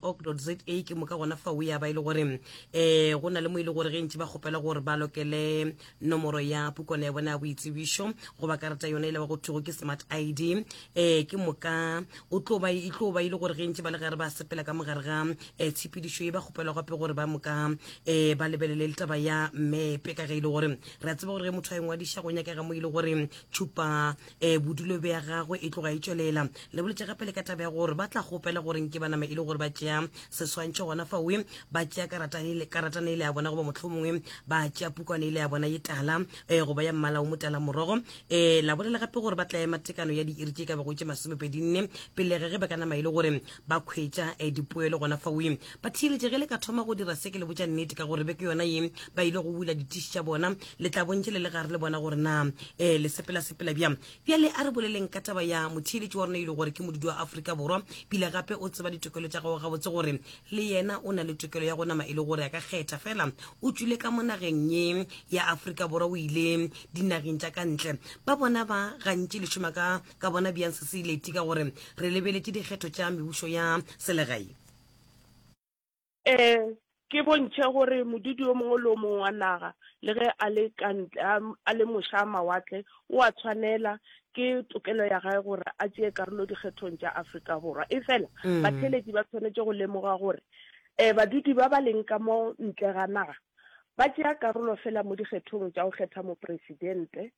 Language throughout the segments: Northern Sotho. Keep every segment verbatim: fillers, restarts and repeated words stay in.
org dot za. Ke moka gona fao ya ba e le gore um go na le mo e le gore ge ntše ba kgopela gore ba lokele nomoro ya pukwana ya bona ya boitsebišo goba karata yona e le ba go thwego ke smart I D, um ke moka o tlo ba e tlo ba e le gore ge ntše ba le gare ba sepela ka mogare ga um tshepedišo ye, ba kgopelwa gape gore ba moka um ba lebelele le taba ya mepe, ka ge e le gore re a tseba gore ge motho a ingwadiša go nyakega mo e le gore tšhupa um bodulo bja gagwe e tloga e tšwelela. Le boletše gape le ka taba ya gore ba tla kgopela gore nke ba nama e le gore ba tšea seswantšho gona faoe, ba tšea karatana ile ya bona goba mohlomongwe ba tšea pukwana ile ya bona ye tala um goba ya mmala o motala morogo. Um la bolela gape gore ba tla ema tekano ya diiri tše ka bago tše masomepedi nne pele ge ge ba ka nama e le gore ba khwetša um dipoelo gona faoe. Ba theeletše ge le ka thoma go dira se, ke le botša nnete, ka gore beke yona ye ba ile go bula ditiši tša bona, le tla bontše le le gare le bona gore na um le sepela sepela bjang. Bjale a re boleleng ka taba ya motheeletši wa rona e le gore ke modudi wa Afrika Borwa, pile gape o tseba ditokelo tša gagwe gabotse, gore le yena o na le tokelo ya go nama e le gore a ka kgetha. Fela o tšwile ka mo nageng ye ya Afrika Borwa, o ile dinageng tša ka ntle. Ba bona ba gantši le šoma ka ka bona bjang se se ileti, ka gore re lebeletše dikgetho tša mebušo ya selegae? Um ke bontšhe gore modudi o mongwe le o mongwe wa naga, le ge a le ka ntle, a le moša mawatle, o a tshwanela ke tokelo ya gae gore a tšee karolo dikgethong tša Afrika Borwa. E fela mm. batheeletši ba tshwanetše go lemoga gore um badudi ba ba leng ka mo ntle ga naga ba tšea karolo fela mo dikgethong tša go kgetha mopresidente,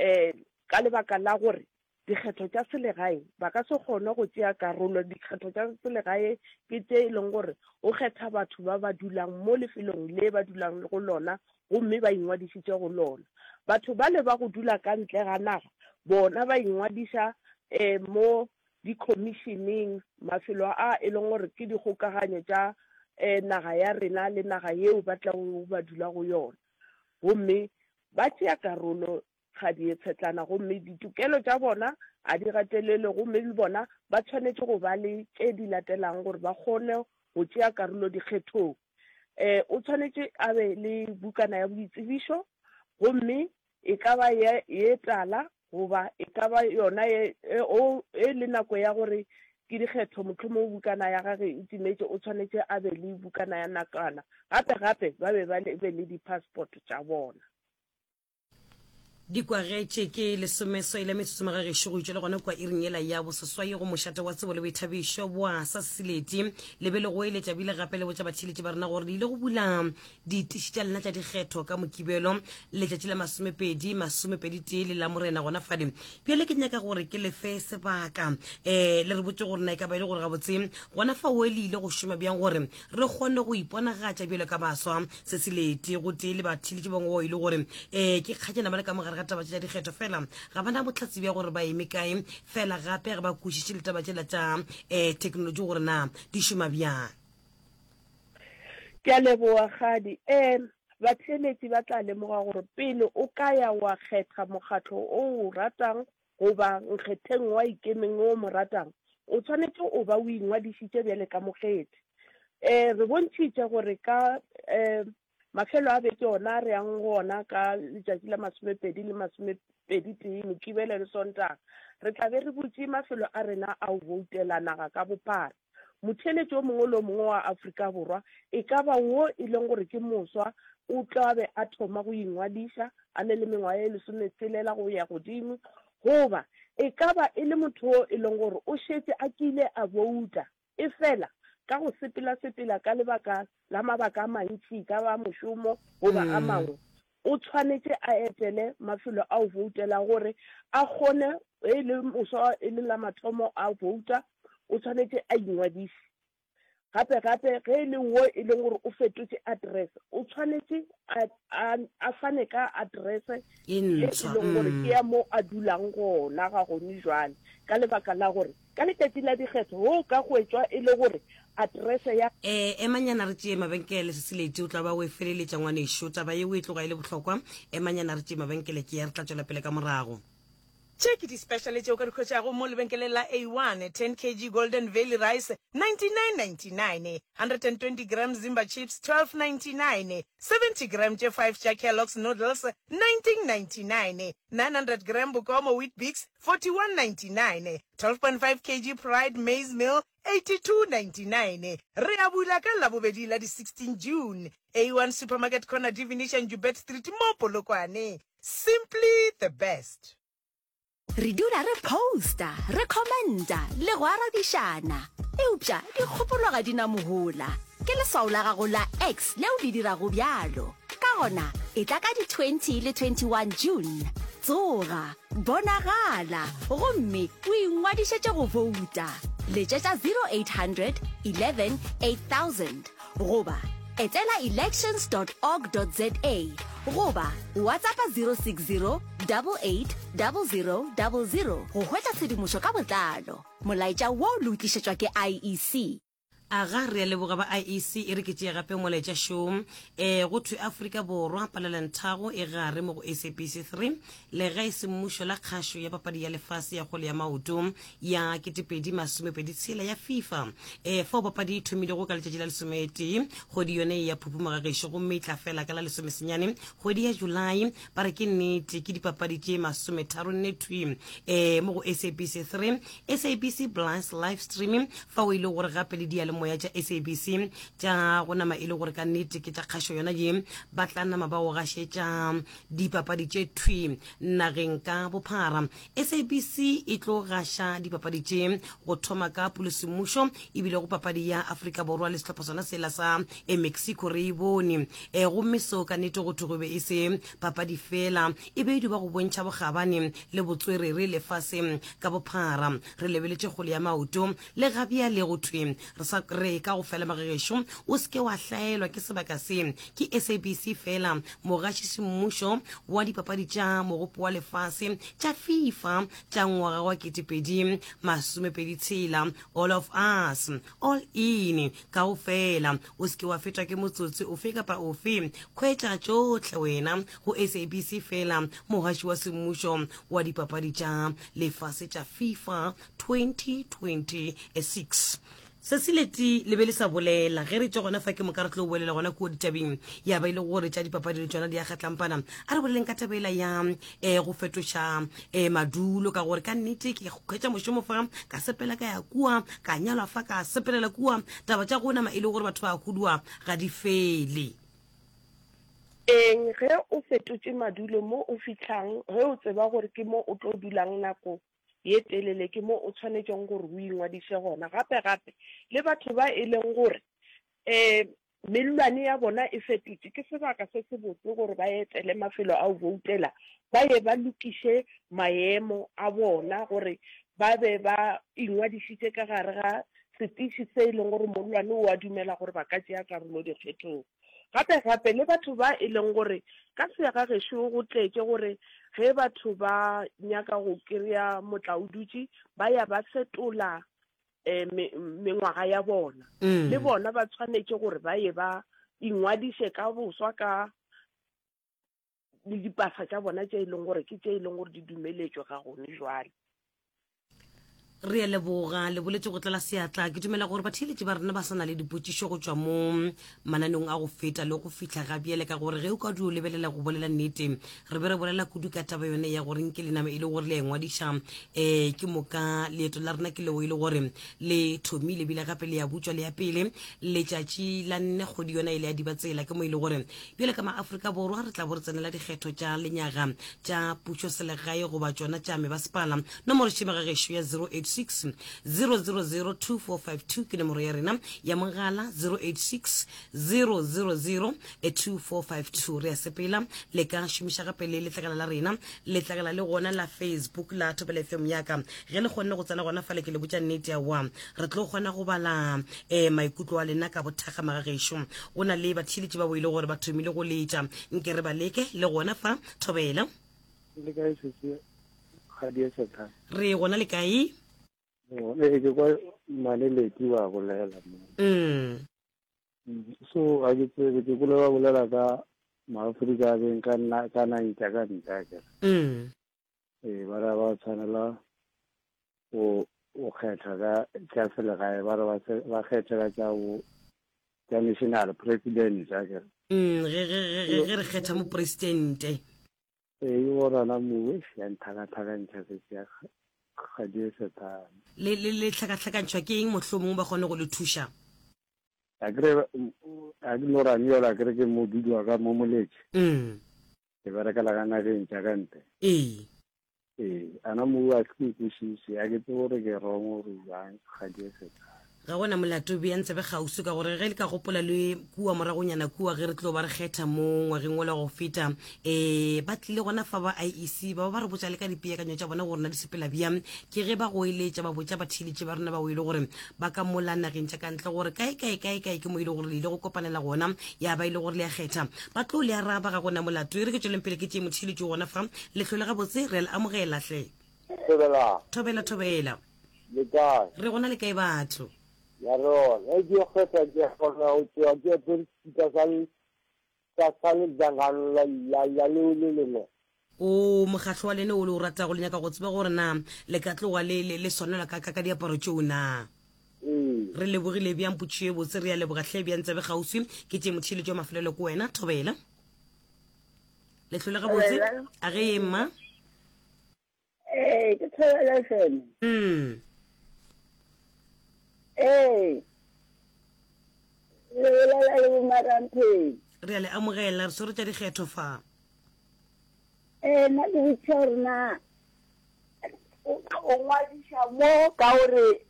um ka lebaka la gore dikgetho tša selegae ba ka se kgone go tšea karolo. Dikgetho tša selegae ke tše e leng gore o kgetha batho ba ba dulang mo lefelong le ba dulang go lona gomme ba ingwadišitše go lona. Batho bale ba go dula ka ntle ga naga bona ba ingwadiša um mo di-commissioning, mafelo a e leng gore ke dikgokaganyo tša um naga ya rena le naga yeo ba tlago ba dula go yona, gomme ba tšea karolo ga di tshetlana, gomme ditokelo tša bona a di gatelelwe, gomme le bona ba tshwanetše go ba le tše di latelang gore ba kgone go tšea karolo dikgethong. Um o tshwanetše a be le bukana ya boitsebišo, gomme e ka ba ye, ye tala goba e ka ba yona ye, e, o, e le nako ya gore ke dikgetho, mohlomongwe bukana ya gage e timetše, o tshwanetše a be le bukana ya nakwana. Gape gape ba be ba be le di-passport tša bona. Dikwagetše ke lesomeswai la metsotso magagešo go itšwa le gona kua iring yela ya boseswai go mošate wa tsebo le boithabišo bwa sa Seleti. Le be le go eletša bile gape le botša batheeletši ba rena gore le ile go bula ditiši tša lena tša dikgetho ka Mokibelo letšatši la masomepedi masomepedi tee le la Morena gona fale. Bjale ke nyaka gore ke lefe sebaka um le re botse gore na e ka ba e le gore gabotse gona fao le ile go šoma bjang gore re kgone go iponagatša bjalo ka baswa se Seleti go tee le batheeletši bangwe bao e le gore um ke kgatšana ba le ka mogare ga taba tša dikgetho, fela ga bana bohlatse bja gore ba eme kae, fela gape ga ba kwešiše le taba tšela tša um technology gore na di šoma bjang. Ke a leboga Kgadi. Um batheeletši ba tla lemoga gore pele o ka ya wa kgetha mokgatlo o o ratang goba nkgetheng wa ikemeng o mo ratang, o tshwanetše o ba o ingwadišitše bjale ka mokgethi. Um re bontšhitše gore ka um mafelo a beke ona re yang go ona ka letšatši la masomepedi le masomepedi tee Mokibelo le Sontaga, re tla be re butše mafelo a rena a go boutela naga ka bophara. Motheeletši o mongwe le o mongwe wa Afrika Borwa, e ka ba wo e leng gore ke moswa, o tla be a thoma go ingwadiša a ne le mengwaga e lesometshelela go ya godimo, goba e ka ba e le motho o e leng gore o šetše a kile a bouta, e fela ka go sepela-sepela ka lebaka la mabaka a mantši, ka ba mošomo goba a mangwe, o tshwanetše a etele mafelo a go boutela gore a kgone, e le moswa e le la mathomo a bouta, o tshwanetše a ingwadiše. Gape gape ge e le wo e leng gore o fetotše address, o tshwanetše a, a, a fane ka address e e ntshwa leng gore ke ya mo a dulang gona ga gone jwale, ka lebaka la gore ka letšatši la dikgetho go ka hwetšwa e le gore address ya um emanyana re tšee mabenkele se Seleti, o tla ba o e feleletša ngwanešo, taba yeo e tloga e le bohlokwa. Emanyana re tšee mabenkele ke ya re tla tšwela pele ka morago. Tše ke di-special tše o ka di hwetšago mo lebenkeleng la A one, ten kg Golden Valley rice, ninety-nine ninety-nine, hundred and twenty gram Zimba chips, twelve ninety-nine, seventy gram tše five tša Kellogg's noodles, nineteen ninety-nine, nine hundred gram Bokomo Weet-Bix, forty-one ninety-nine, twelve point five kg Pride maize meal, eighty-two ninety-nine. Re a bula ka Labobedi la di sixteen June. A one Supermarket corner Divination Joubert Street mo Polokwane. Simply the best. Re dula re posta, re commenta le go arabišana. Eupša dikgopolo ga di na mohola. Ke leswao la gago la X leo le dirago bjalo. Ka gona, etla ka di twenty le twenty one June. Tsoga, bonagala gomme o ingwadišetše go bouta. Letšetša zero eight hundred eleven eight thousand goba etela elections dot org dot za goba WhatsAppa zero six zero double eight double zero double zero go hwetša tshedimošo ka botlalo. Molaetša wo le o tlišetšwa ke I E C. Aga, re a leboga ba I E C. E re ke tšee gape molaetša šo. E, go thwe Afrika Borwa palelantago e gare mo go S A B C three, legae semmušo la kgašo ya papadi ya lefase ya kgwele ya maoto ya ketepedi masomepedi tshela ya FIFA. E, fao papadi e thomilego ka letšatši la lesometee kgwedi yone ya Phupu Mogagešo gomme e tla fela ka la lesomesenyane kgwedi ya Julae. Ba re ke nnete ke dipapadi tše masometharo nne thwi e, mo go S A B C three, S A B C Plus live streaming, fao e le gore gape le diyalemoya tša S A B C tša go nama e le gore ka nnete ke tša kgašo yona ye, ba tla nama ba go gašetša dipapadi tše thwi nageng ka bophara. S A B C e tlo gaša dipapadi tše go thoma ka pulosemmušo ebile go papadi ya Afrika Borwa le sehlopha sona sela sa Mexico re e bone. E, gomme seo ka nnete go thwe go be e se papadi fela, e be e duba go bontšha bokgabane le botswerere lefaseng ka bophara. Re lebeletše kgwele ya maoto le gabjale go thwe re sa re ka go fela magagešo, o se ke wa hlaelwa ke sebaka se. Ke S A B C fela mogaši semmušo wa dipapadi tša mogopo wa lefase tša FIFA tša ngwaga wa ketepedi masomepedi tshela. All of us, all in, kaofela. O se ke wa fetwa ke motsotsi ofe kapa ofe. Khwetša tšohle wena go S A B C fela mogaši wa semmušo wa dipapadi tša lefase tša FIFA twenty twenty-six. Se se leti le be le sa bolela ge re tšwa gona fa ke moka re tlo bolela gona kua ditabeng ya ba ile gore tša dipapadi le tšona di a kgatlampana. A re boleleng ka tabela ya eh, go fetoša eh, madulo, ka gore ka nnete ke hwetša mošomo fa ka sepela ka ya kua, ka nyalwa fa ka sepelela kua. Taba tša go nama e le gore batho ba hudua ga di fele. Eng ge o fetotše madulo mo o fihlang, ge o tseba gore ke mo o tlo dulang nako ye telele, ke mo o tshwanetšeng gore o ingwadiše gona. Gape gape le batho ba e leng gore um mellwane ya bona e fetotše, ke sebaka se se botse gore ba etele mafelo a go voutela, ba ye ba lokiše maemo a bona gore ba be ba ingwadišitše ka gare ga setiši se e leng gore mollwane o a dumela gore ba ka tšea karolo dikgethong. Gape gape le batho ba e leng gore ka sega gešo go tletše gore ge batho ba nyaka go kry-a motlaodutše ba ya ba fetola eh, mengwaga ya bona. Mm. Le bona ba tshwanetše gore ba ye ba ingwadiše ka boswa ka le dipasa tša bona tše e leng gore ke tše e leng gore di dumeletšwe ga gone jwale. Re a leboga, le boletse go tlala seatla. Ke dumela gore batheeletši ba rena ba sa na le dipotšišo go tšwa mo mananeong a go feta le go fihla ga bjale, ka gore ge o ka dio lebelela go bolela nnete, re be re bolela kudu ka taba yone ya gore nke le nama e le gore le a ingwadiša, eh, ke moka leeto la rena ke leo e le gore le thomile ebile gape le ya butšwa le ya pele letšatši la nne kgwedi yona e le ya Dibatsela. Ke mo e le gore bjale ka maAfrika Borwa re tla bo re tsenela dikgetho tša lenyaga tša pušo selegae goba tšona tša mebasepala. Nomoro šemegagešo ya zero eight six zero zero zero two four five two ke nomoro ya rena ya mogala, zero eight six zero zero zero two four five two. Re a sepela, le ka šomiša gape le letlakala la rena, letlakala le gona la Facebook la Thobela F M yaka. Ge le kgonne go tsena gona fale, ke le botša nnete ya wa re tlo kgona go bala eh, maikutlo a lena ka bothakga magagešo. Go na le batheeletši ba bo ile gore ba thomile go letša, nke re ba leke le gona fa Thobela. Le kae sesi? Ga di e setha. Re gona le kae? Ee, ke kwa Maleleki ba bolela mo. Mm. So ga ke tsebe, ke kule ba bolela ka maAfrika a beng ka nna, ka nang tša ka ntle, akere. Mm. Ee, ba re ba tshwanela go, go kgetha ka tša selegae, ba re ba se, ba kgethe ka tša bo, tša national president, akere. Mm, ge, ge, ge, ge, ge re kgetha mopresidente. Ee, ke bona mowe, ya nthakathakantšha se se ya Kgadi Sethane. Le le le hlakahlakantšhwa ke eng mohlomongwe ba kgone go le thuša? Akere a ke no ra yola akere ke modudi wa ka mo Moletši. Mm. Ke berekela ka nageng tša ka ntle. Ee. Ee, ana mo a ke kwešiše, a ke tsebe gore ke wrong gore jang Kgadi Sethane. Ga gona molato bea ntsebe kgauswi ka gore ge le ka gopola le kua moragonyana kua ge re tlo ba re kgetha mo ngwageng ola go feta um ba tlile gona fa ba I E C ba ba ba re botša le ka dipeakanyo tša bona gore na di sepela bjang. Ke ge ba goeletša ba botša batheeletši ba rena ba o ile gore ba ka mola nageng tša ka ntle gore kae kae kae kae ke mo ile gore le ile go kopanela gona ya ba ile gore le ya kgetha ba tlo le araba. Ga gona molato, e re ke tšweleng pele ke tšee motheeletši gona fa. Lehlole gabotse, re a le amogela hle. Thobela. Thobela, thobela. Le kae? Re gona, le kae batho? Ya rona e ke kgetha ke kgona go tšwa ke apere sekipa sa sa sa lejangano la la la leo le lengwe. O mokgahlo wa lene o le o ratago, le nyaka go tseba gore na le ka tloga le le le swanelwa ka ka ka diaparo tšeo na? Ee. Re lebogile bjang, potšišo e botse, re a leboga hle. Bjang tsebe kgauswi ke tše motheeletši wa mafelelo ke wena. Thobela, lehlole gabotse. A ge ye mma. Ee, ke Thobela F M. Mm. Ee, le bolela le boMarampheng. Re a le amogela, re swere tša dikgetho fa. Ee, nna ke botšiša gore na o o ngwadiša mo ka gore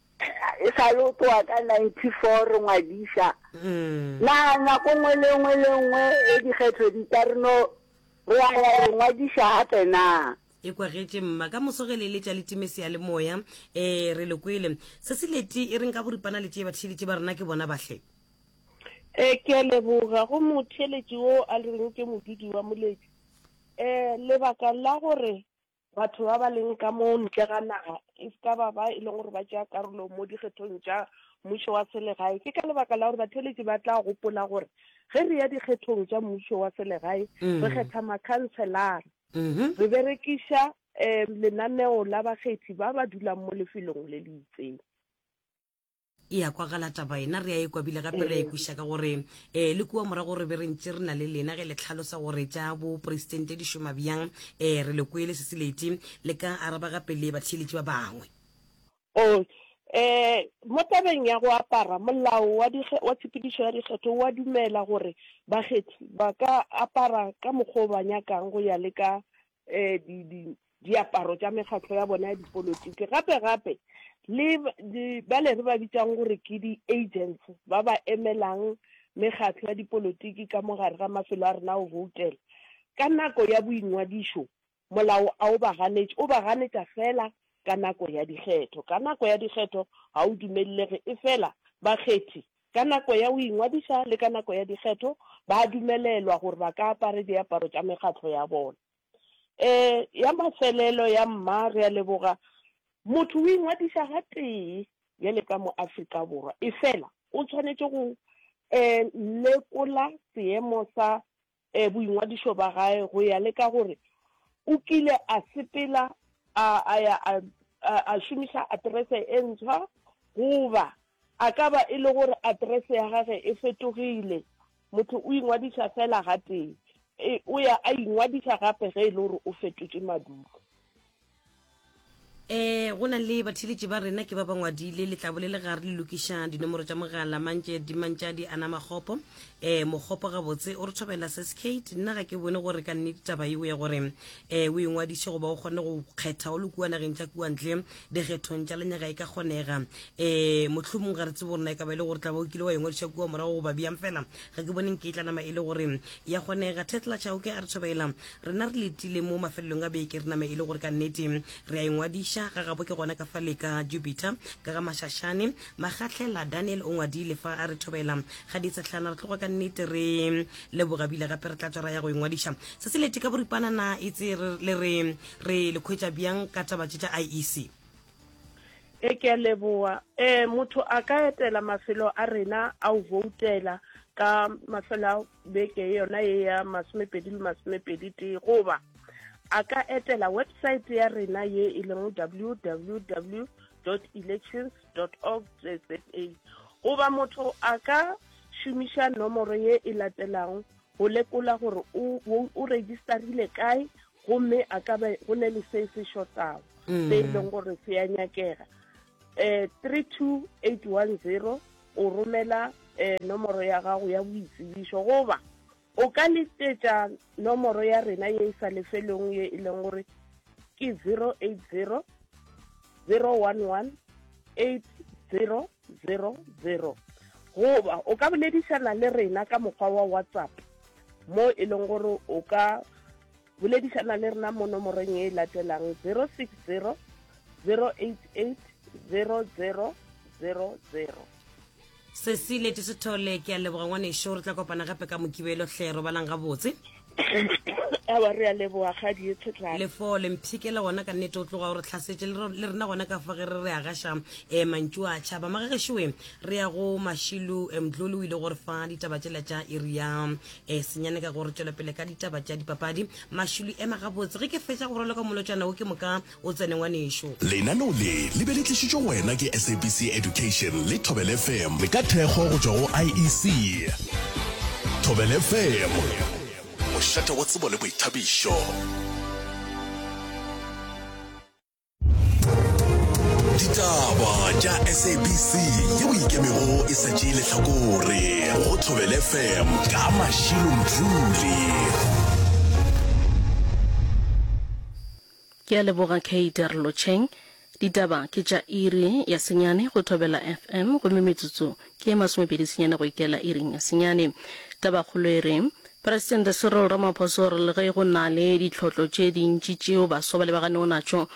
e sa le o tloga ka ninety four re ngwadiša. Mm. Na nako nngwe le nngwe le nngwe e dikgetho di tla re no re a ya re ngwadiša gape na? E kwagetše mma, ka moso ge le eletša le time seyalemoya. Um re le kwele se se leti e reng ka boripana le tšee batheeletši ba rena ke bona bahle. E ke a leboga go motheeletši wo a reng ke modudi wa Moletši. Um lebaka la gore batho ba ba leng ka mo ntle ga naga e se ka ba ba e leng gore ba tšea karolo mo dikgethong tša mmušo wa selegae ke ka lebaka la gore batheeletši ba tla gopola gore ge re ya dikgethong tša mmušo wa selegae re Mm. kgetha makhanselara, Mhm. re berekiša um lenaneo la bakgethi ba ba dulang mo lefelong le le itseng. E ya kwagala taba ena, re a e kwabile gape re a e kweša ka gore um le kua morago re be re ntše re na le lena ge le tlhalosa gore tša boporesidente di šoma bjang. um re le kwele se se leti, le ka araba gape le batheeletši ba bangwe. O eh mo tabeng ya go apara, molao wa dikge wa tshepedišo ya dikgetho wa dumela gore bakgethi ba ka apara ka mokgwa o ba nyakang go ya le ka eh di di diaparo tša mekgatlo ya bona ya dipolotiki. Gape gape le di bale re ba bitsang gore ke di-agents ba ba emelang mekgatlo ya dipolotiki ka mo gare ga mafelo a rena go voutela ka nako ya boingwadišo, molao a o ba ganetše, o ba ganetša fela ka nako ya dikgetho. Ka nako ya dikgetho ga o dumelelege, e fela bakgethi ka nako ya go ingwadiša le ka nako ya dikgetho ba dumelelwa gore ba ka apare diaparo tša mekgatlo ya bona. Um ya mafelelo ya mma, re a leboga. Motho o ingwadiša ga tee bjale ka mo Afrika Borwa, e fela o tshwanetše go um lekola seemo sa um boingwadišo ba gae go ya le ka gore o kile a sepela a a ya a a šomiša aterese e ntshwa goba a ka ba e le gore aterese ya gage e fetogile. Motho o ingwadiša fela ga tee, e o ya a ingwadiša gape ge e le gore o fetotše madulo. um go na le batheeletši ba rena ke ba ba ngwadile letlabo le le gare le lokiša dinomoro tša mogala mantše dimantšadi ana makgopo um mokgopo gabotse o re thobela seskate. Nna ga ke bone gore ka nnete taba eo ya gore um o ingwadiše goba o kgone go kgetha o le kua nageng tša kua ntle dikgethong tša lenyaga e ka kgonega. um mohlomong ga re tsebe gore na e ka ba e le gore tla ba o kile wa ingwadiša kua morago goba bjang, fela ga ke boneng ke e tla nama e le gore ya kgonega. Tetla Chauke a re thobela, rena re letile mo mafelelong a beke, re nama e le gore ka nnete re a ingwadiša ga gabo ke gona ka fa le ka Jupiter ka ga Mašašane. Magahlela Daniel o ngwadile fa a re thobela ga ditsetlhana, re tloga ka nnete re leboga bile gape re tla tswa ra ya go ingwadiša. Se se lete ka boripana na itse le re re le khwetša bjang ka taba tše tša I E C? E ke a leboga. um motho a ka etela mafelo a rena a o voutela ka mafelo a beke yona ye ya masomepedi le masomepedi tee, goba a ka etela website ya rena ye e leng W W W dot elections dot org za, goba motho a ka šomiša nomoro ye e latelang go lekola gore o, o, o registerile kae gomme a ka be go ne le se se shotago. se e leng gore se ya nyakega. um three two eight one zero o romela um nomoro ya gago ya boitsebišo, goba o ka letsetša nomoro ya rena ye e sa lefelong ye e leng gore ke zero eight zero zero one one eight zero zero zero, goba o ka boledišana le rena ka mokgwa wa WhatsApp mo e leng gore o ka boledišana le rena mo nomorong ye e latelang zero six zero zero eight eight zero zero zero zero. Sesi Leti Sethole, ke a leboga ngwanešo, re tla kopana gape ka Mokibelo hle, robalang gabotse. Awa, re a leboga kgadi e tshetlana. Lefole mphikele gona ka nnete o tloga o re hlasetše le rena gona ka fa ge re re agaša um mantšu a tšhaba. Magagešoe re ya go Mašilu Mdluli, o ile gore fa ditaba tšela tša iri ya um senyane ka gore tšwela pele ka ditaba tša dipapadi. Mašilu ema gabotse ge ke fetša go raloka molotšana wo ke moka o tsene ngwanešo. Lenaneo le le be le tlišitšwe go wena ke S A B C Education le Thobela F M le ka thekgo go tšwa go I E C. Thobela F M, mošate wa tsebo le boithabišo. Ditaba tša S A B C yeo ikemego e sa tšee lehlakore go Thobela F M ka Mashilo Mdluli. Ke a leboga Kate Lotšheng. Ditaba ke tša iri ya senyane go Thobela F M gomme metsotso ke masomepedi senyane go ikela iring ya senyane. Tabakgolo e re Presidente Cyril Ramaphosa o re le ge go na le ditlhotlo tše dintši tšeo baswa ba lebaganego natšo,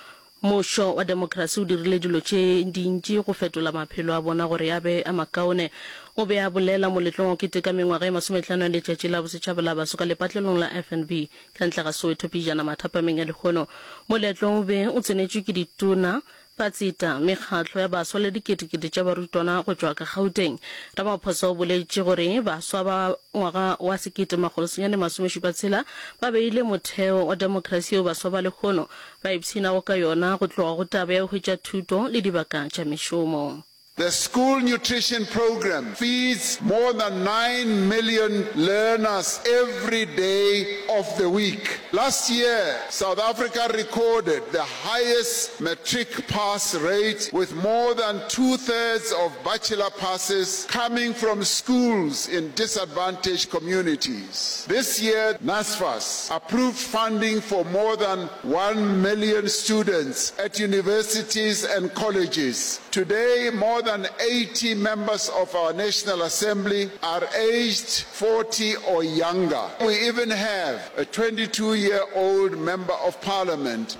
mmušo wa demokrasi o dirile dilo tše dintši go fetola maphelo a bona gore a be a makaone. O be a bolela moletlong wa keteka mengwaga e masometlhano ya letšatši la bosetšhaba la baso ka lepatlelong la F N B ka ntle ga Soweto pejana mathapameng a lehono. Moletlo o be o tsenetšwe ke ditona, batseta, mekgatlo ya baswa le diketekete tša barutwana go tšwa ka Gauteng. Ramaphosa o boletše gore baswa ba ngwaga wa sekete makgolo senyane masomešupa tshela ba beile motheo wa demokrasi yeo baswa ba lehono ba ipshinago ka yona go tloga go taba ya go hwetša thuto le dibaka tša mešomo. The school nutrition program feeds more than nine million learners every day of the week. Last year, South Africa recorded the highest matric pass rate, with more than two-thirds of bachelor passes coming from schools in disadvantaged communities. This year, NSFAS approved funding for more than one million students at universities and colleges. Today, more than eighty members of our National Assembly are aged forty or younger. We even have a twenty-two-year-old member of parliament.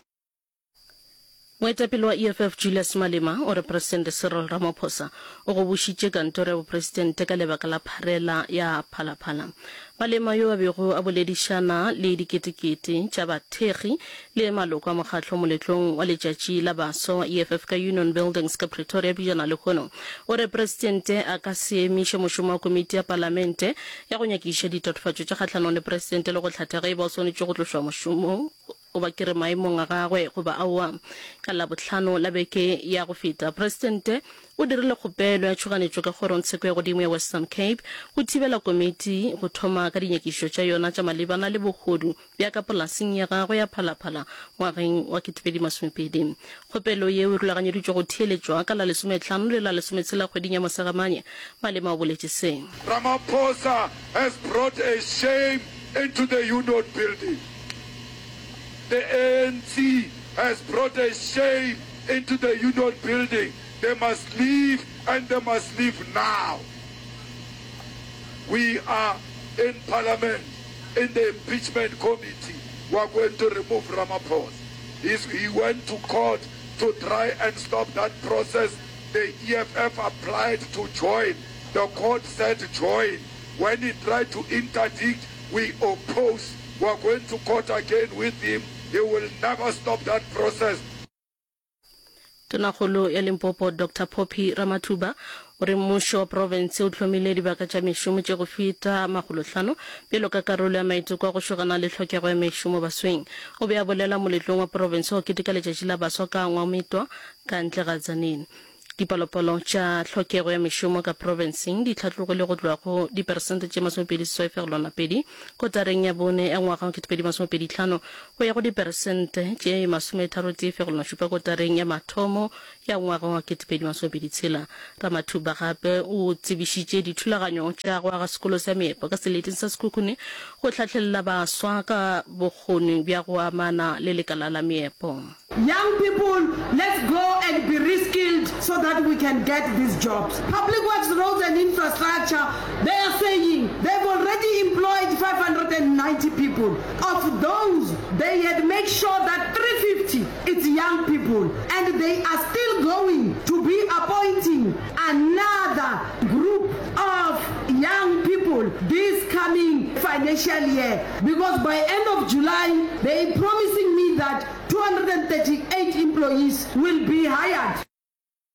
Moetapele wa E F F Julius Malema o re Presidente Cyril Ramaphosa o gobošitše kantoro ya bopresidente ka lebaka la pharela ya Phalaphala. Malema yo a bego a boledišana le diketekete tša bathekgi le maloko a mokgatlo moletlong wa letšatši la baswa wa E F F ka Union Buildings ka Pretoria pejana lehono, o re presidente a ka se emiše mošomo wa komiti ya palamente ya go nyakiša ditatofatšo tša kgahlanong le presidente le go hlatha ge e ba o swanetše go tlošwa mošomong goba ke re maemong a gagwe goba aowa. Ka Labohlano la beke ya go feta, presidente o dirile kgopelo ya tšhoganetšo ka kgorongtsheko ya godimo ya Western Cape go thibela komiti go thoma ka dinyakišišo tša yona tša malebana le bohodu bja ka polaseng ya gagwe ya Phalaphala ngwageng wa ketepedi masomepedi. Kgopelo yeo e rulaganyeditšwe go theeletšwa ka la lesometlhano le la lesometshela kgweding ya Mosegamanye. Malema o boletše se. Ramaphosa has brought a shame into the union building. The A N C has brought a shame into the union building. They must leave, and they must leave now. We are in parliament, in the impeachment committee. We are going to remove Ramaphosa. He's, he went to court to try and stop that process. The E F F applied to join. The court said join. When he tried to interdict, we oppose. We are going to court again with him. He will never stop that process. Tonakgolo ya Limpopo Doctor Phophi Ramathuba o re mmušo wa profense o hlomile dibaka tša mešomo tše go feta makgolohlano bjalo ka karolo ya maiteko a go šogana le tlhokego ya mešomo basweng. O be a bolela moletlong wa profense wa keteka letšatši la baswa ka Ngwametwa ka ntle ga Tzaneen. Dipalopalo tša tlhokego ya mešomo ka profenseng di hlatlogile go tloga go diperesente tše masomepedi seswai fegelwana pedi kotareng ya bone ya ngwaga wa ketepedi masomepedi hlano go ya go diperesente tše masometharo tee fegelwana šupa kotareng ya mathomo ya ngwaga wa ketepedi masomepedi tshela. Ramathuba gape o tsebišitše dithulaganyo tša go aga sekolo sa meepo ka seleteng sa Sekhukhune go hlahlelela baswa ka bokgoni bja go amana le lekala la meepo. Young people, let's go and be reskilled so that we can get these jobs. Public Works Roads and Infrastructure, they are saying they've already employed five hundred and ninety people. Of those, they had made sure that three fifty it's young people and they are still going to be appointing another group of young people this coming financial year because by end of July they promising me that two hundred and thirty eight employees will be hired.